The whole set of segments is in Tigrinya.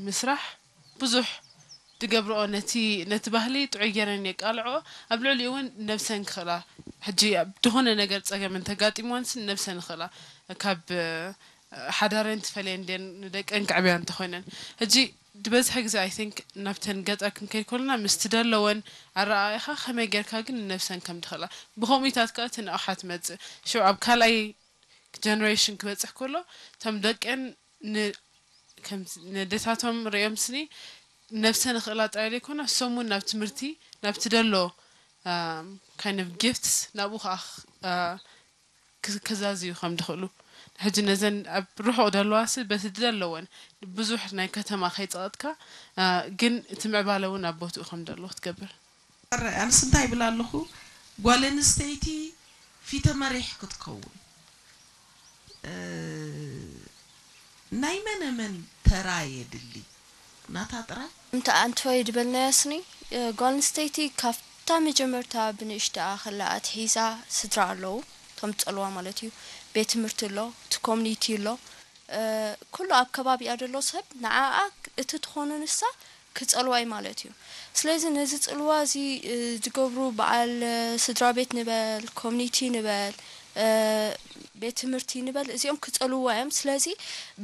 ምስራሕ ብዙሕ ዝገብርኦ ነቲ ነቲ ባህሊ ጥዑይ ገይረን የቃልዕኦ። ኣብ ልዕሊኡ እውን ነብሰን ክኽእላ፣ ሕጂ ዝኾነ ነገር ጸገም እንተጋጢምወንስ ነብሰን ይኽእላ፣ ካብ ሓዳረን ትፈልየን ድየን ንደቀን ከዕብያ እንተኾይነን። ሕጂ ዝበዝሐ ግዜ I think ናብተን ገጠር ክንከይድ ከለና ምስቲ ደለወን ኣረኣእኻ ከመይ ጌርካ ግን ንነብሰን ከም ትኽእላ ብኸምኡታት ከኣ እቲ ንቕሓት መጽእ ሽዑ ኣብ ካልኣይ generation ክበጽሕ ከሎ እቶም ደቀን ን ከም ነደታቶም ርእዮም ስኒ ነብሰን ክእላ ጥራይ ዘይኮነ እሶም እውን ናብ ትምህርቲ ናብቲ ደሎ kind of gifts ናብኡ ከዓ ክዛዝዩ ከም ዝኽእሉ ሕጂ ነዘን ኣብ ርሑቕ ደለዋሲ በቲ ዝደለወን ብዙሕ ናይ ከተማ ከይፀቐጥካ ግን እቲ ምዕባለ እውን ኣብ ቦትኡ ከም ዘለዎ ክትገብር ኣረ ኣንስ እንታይ ይብል ኣለኹ ጓል ኣንስተይቲ ፊተ መሪሕ ክትከውን ናይ መነ መን ተራ የድሊ ናታ ጥራይ እንተ ኣንትወይ ድበልናያ ስኒ ጓል ኣንስተይቲ ካብታ መጀመርታ ብንእሽተኣ ከላ ኣትሒዛ ስድራ ኣለዉ እቶም ዝጸልዋ ማለት እዩ ቤት ትምህርቲ ኣሎ እቲ ኮሚኒቲ ኣሎ ኩሉ ኣብ ከባቢኣ ዘሎ ሰብ ንዓኣ እቲ ትኾኖ ንሳ ክጸልዋ እዩ ማለት እዩ ስለዚ ነዚ ጽልዋ እዚ ዝገብሩ በዓል ስድራ ቤት ንበል ኮሚኒቲ ንበል ቤት ትምህርቲ ንበል እዚኦም ክጸልውዋ እዮም ስለዚ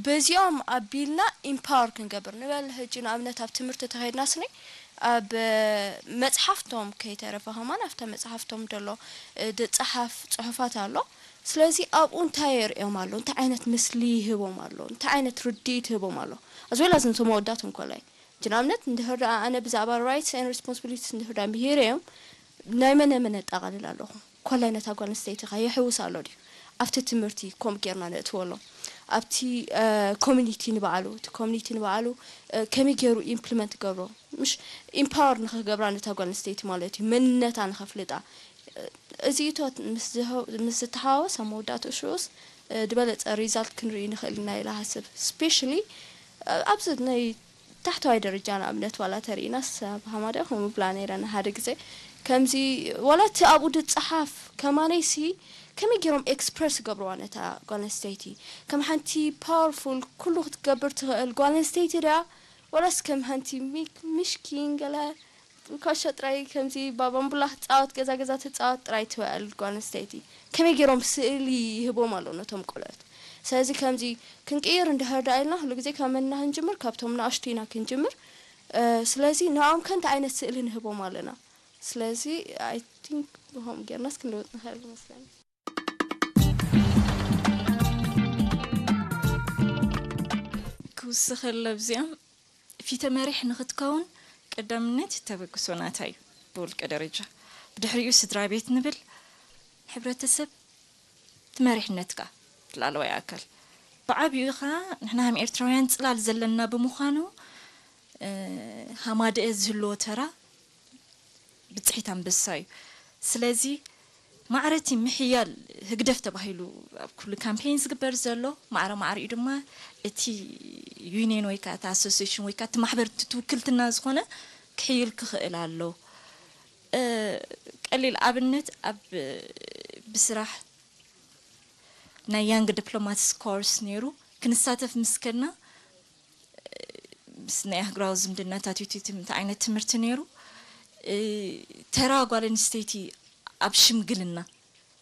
በዚኦም ኣቢልና ኢምፓወር ክንገብር ንበል ህጂ ንኣብነት ኣብ ትምህርቲ ተኸይድና ስኒ ኣብ መጽሓፍቶም ከይተረፈ ከማን ኣብታ መጽሓፍቶም ደሎ ድጸሓፍ ጽሑፋት ኣሎ ስለዚ ኣብኡ እንታይ የርእዮም ኣሎ እንታይ ዓይነት ምስሊ ይህቦም ኣሎ እንታይ ዓይነት ርድኢት ይህቦም ኣሎ ኣዝወላ ዝንቶም መወዳት እንኮላይ ሕጂ ንኣብነት እንድሕር ደኣ ኣነ ብዛዕባ rights and responsibilities እንድሕር ደኣ ምሂረዮም ናይ መነ መን የጠቓልል ኣለኹ ኮላይ ነታ ጓል ኣንስተይቲ ኸ የሕውስ ኣሎ ድዩ ኣብቲ ትምህርቲ ከምኡ ጌርና ነእትወሎም ኣብቲ community ንባዕሉ እቲ community ንባዕሉ ከመይ ገይሩ implement ክገብሮ ምሽ empower ንኽገብራ ነታ ጓል ኣንስተይቲ ማለት እዩ መንነታ ንኸፍልጣ እዚ እቶት ምስ ዝተሓዋወስ ኣብ መወዳእትኡ ሽኡስ ዝበለፀ result ክንርኢ ንኽእል ኢና ኢለ ሃስብ specially ኣብዚ ናይ ታሕተዋይ ደረጃ ንኣብነት ዋላ ተሪኢናስ ኣብ ሃማዳ ከምኡ ብላ ነይረ ንሓደ ግዜ ከምዚ ዋላ እቲ ኣብኡ ድፀሓፍ ከማነይሲ ከመይ ገይሮም express ይገብርዋ ነታ ጓል ኣንስተይቲ ከም ሓንቲ powerful ኩሉ ክትገብር ትኽእል ጓል ኣንስተይቲ ድያ ዋላስ ከም ሓንቲ ሚሽኪን ገለ ኮሾ ጥራይ ከምዚ ባባምቡላ ክትፃወት ገዛ ገዛ ትፃወት ጥራይ ትውዕል ጓል ኣንስተይቲ ከመይ ገይሮም ስእሊ ይህቦም ኣሎ ነቶም ቆልዑት ስለዚ ከምዚ ክንቅይር እንድሕር ደኣ ኢልና ኩሉ ግዜ ካብ መን ኢና ክንጅምር ካብቶም ንኣሽቱ ኢና ክንጅምር ስለዚ ንዕኦም ከ እንታይ ዓይነት ስእሊ ንህቦም ኣለና ስለዚ I think ብኸምኡ ጌርናስ ክንልውጥ ንኽእል ይመስለኒ ክውስኸለ ኣብዚኦም ፊተ መሪሕ ንኽትከውን ቀዳምነት ተበግሶ ናታ እዩ ብውልቀ ደረጃ። ብድሕሪኡ ስድራ ቤት ንብል፣ ሕብረተሰብ፣ እቲ መሪሕነት ከኣ እቲ ላዕለዋይ ኣካል። ብዓቢኡ ከኣ ንሕና ከም ኤርትራውያን ጽላል ዘለና ብምዃኑ ሃማደኤ ዝህልዎ ተራ ብጽሒት ኣንበሳ እዩ። ስለዚ ማዕረ እቲ ምሕያል ህግደፍ ተባሂሉ ኣብ ኩሉ ካምፔይን ዝግበር ዘሎ ማዕረ ማዕሪኡ ድማ እቲ ዩኒየን ወይ ከዓ እቲ ኣሶሲሽን ወይ ከዓ እቲ ማሕበር እቲ ትውክልትና ዝኾነ ክሕይል ክኽእል ኣሎ። ቀሊል ኣብነት ኣብ ብስራሕ ናይ ያንግ ዲፕሎማትስ ኮርስ ነይሩ ክንሳተፍ ምስ ከድና ምስ ናይ ኣህጉራዊ ዝምድናታት ዩቲቲ እንታይ ዓይነት ትምህርቲ ነይሩ ተራ ጓል ኣንስተይቲ ኣብ ሽምግልና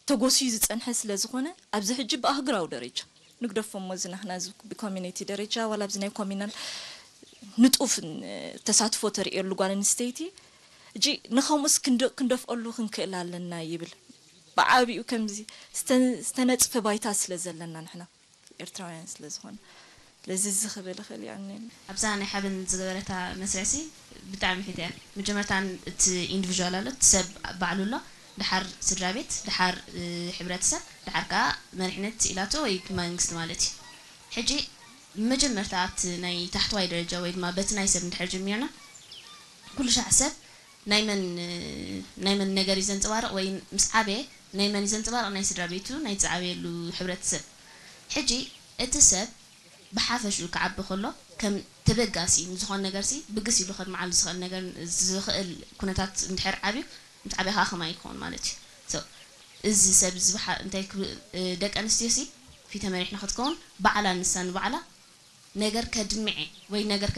ተጎስዩ ዝፀንሐ ስለ ዝኾነ ኣብዚ ሕጂ ብኣህጉራዊ ደረጃ ንግደፎ እሞ እዚ ናህና እዚ ብኮሚኒቲ ደረጃ ዋላ ኣብዚ ናይ ኮሚናል ንጡፍ ተሳትፎ ተርእየሉ ጓል ኣንስተይቲ እጂ ንኸምኡስ ክንደፍኦሉ ክንክእል ኣለና ይብል ብዓቢኡ ከምዚ ዝተነፅፈ ባይታ ስለ ዘለና ንሕና ኤርትራውያን ስለ ዝኾነ ስለዚ እዚ ክብል እኽእል እየ ኣነ ኣብዛ ናይ ሓበን ዝገበረታ መስርዕሲ ብጣዕሚ ሒተ እያ መጀመርታ እቲ ኢንዲቪዥዋል ኣሎ እቲ ሰብ ባዕሉ ኣሎ ድሓር ስድራ ቤት ድሓር ሕብረተሰብ ድሓር ከዓ መሪሕነት ኢላቶ ወይ መንግስቲ ማለት እዩ ሕጂ መጀመርታ ኣብቲ ናይ ታሕተዋይ ደረጃ ወይ ድማ በቲ ናይ ሰብ እንድሕር ጀሚርና ኩሉ ሻዕ ሰብ ናይ መን ናይ መን ነገር እዩ ዘንፀባርቕ ወይ ምስ ዓበየ ናይ መን እዩ ዘንፀባርቕ ናይ ስድራ ቤቱ ናይ ዝዓበየሉ ሕብረተሰብ ሕጂ እቲ ሰብ ብሓፈሽኡ ክዓቢ ከሎ ከም ተበጋሲ ንዝኾነ ነገርሲ ብግስ ኢሉ ከድምዓሉ ዝኽእል ነገር ዝኽእል ኩነታት እንድሕር ዓብዩ ምስ ዓበየ ከዓ ከማይ ክኸውን ማለት እዩ so እዚ ሰብ እዚ እንታይ ደቂ ኣንስትዮ ሲ ፊተ መሪሕ ንክትከውን ባዕላ ንሳ ንባዕላ ነገር ከድምዕ ወይ ነገር